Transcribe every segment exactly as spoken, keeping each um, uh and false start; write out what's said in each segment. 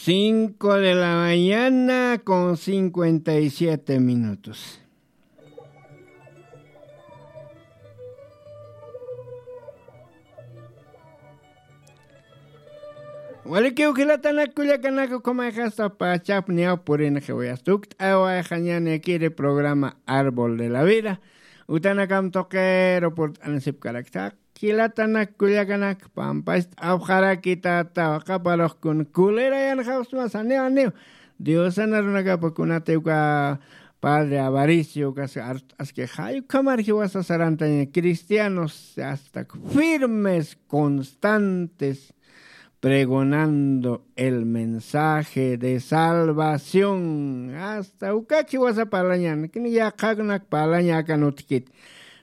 Cinco de la mañana con cincuenta y siete minutos. Walikiw jilatanak kullakanak, ukhamax jasta pachap niyaw purinxiw, yasta ukt'awayxañanïkiri programa Árbol de la Vida. Utanakam tuqiru purt'anisipkarakta. Jilatanak kullakanak, pampast'apxarakitata, qaparux kun kulirayanxapxsma, saniw, aniw. Diosan arunakapa kunatiw uka padre Avaricio, ukas art'aski, jay ukhamar jiwasa sarantaña, cristianos hasta firmes, constantes, pregonando el mensaje de salvación. Hasta ukak jiwasa parlañan, kin yaqhakunak parlaña akan utjkit.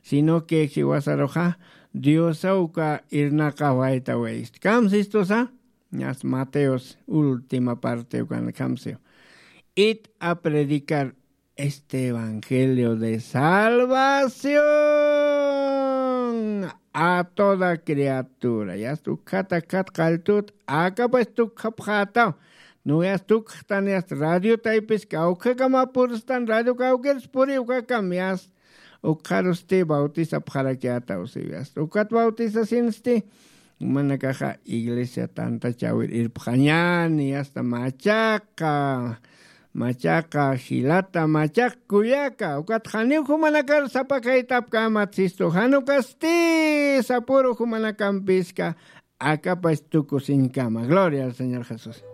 Sino que jiwasaruxa Diosa uka irnaqawayta wayist. Kamsistusa, ñas Mateos última parte ukan kamsiw. Id a predicar este evangelio de salvación a toda criatura. Yasta ukhata khat qalltut, akapach tukxapxätaw. No yasta ukxtan, yasta radio taypis kawkhakamapurustan, radio kawkirus puri ukakam, yasta ukxarusti bautisapxarakiätaw, si yasta ukat bautisasinsti, jumanakaxa iglesia tantachäwir irpxañäni, yasta machaqa, machaqa jilata, machaq kullaka, ukat janiw jumanakar sapakaytapkämat, sistu, jan ukasti sapuru jumanakampiska, akapach tukusiñkama. Gloria al Señor Jesús.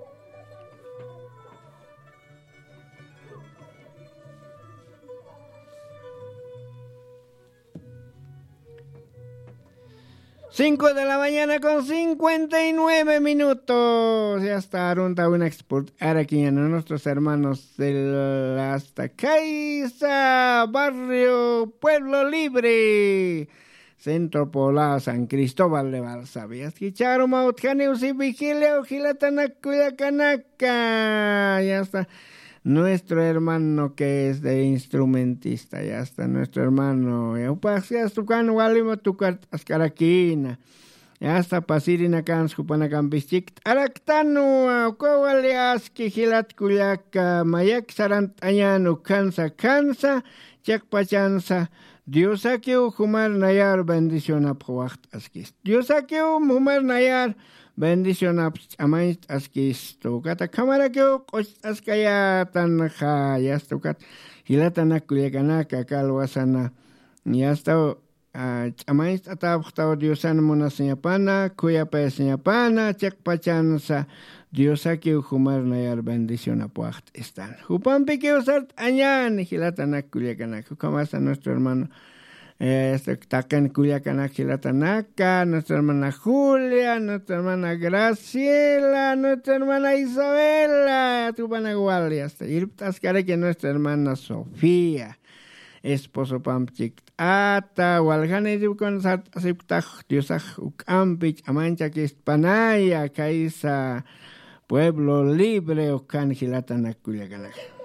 Cinco de la mañana con cincuenta y nueve minutos. Yasta arunta winaksa purt'arakiñäni nuestros hermanos del hasta Caiza, barrio Pueblo Libre, Centro Poblado San Cristóbal de Balsavia. Yasta jichharu mä utjaniw, si, vigilia, jilatanak kullakanaka. Yasta nuestro hermano que es de instrumentista, yasta nuestro hermano, ya, jupax, yasta ukan walima tukart'askarakïna. Yasta pasirinakansa jupanakampis chikt'araktanwa, uka wali aski jilat kullaka, mayak sarant'añän ukhansa, khansa, chiqpachansa, Diosakiw jumar nayar bendicionapx waxt'askis. Diosakiw jumar nayar bendicionapx ch'amañcht'askis. Ukat akhamarakiw q'ucht'askayätanxa, yasta ukat jilatanak kullakanaka, kalwasana, yasta, a, ch'amañcht'atäpxtaw Diosan munasiñapana, khuyapayasiñapana, chiqpachansa Diosakiw jumar nayar bendicionap waxt'istan. Jupampikiw sart'añäni jilatanak kullakanak. Ukhamasa nuestro hermano, eh, este, taqin kullakanak jilatanaka, nuestra hermana Julia, nuestra hermana Graciela, nuestra hermana Isabela, jupanak wali, hasta irpt'askaraki nuestra hermana Sofía. Esposopamp chikt'ata, waljanirïpkun sart'asipktax Diosax juk'ampi ch'amañchakistpanaya, Caiza, Pueblo Libre, ukan jilatanak kullakanak.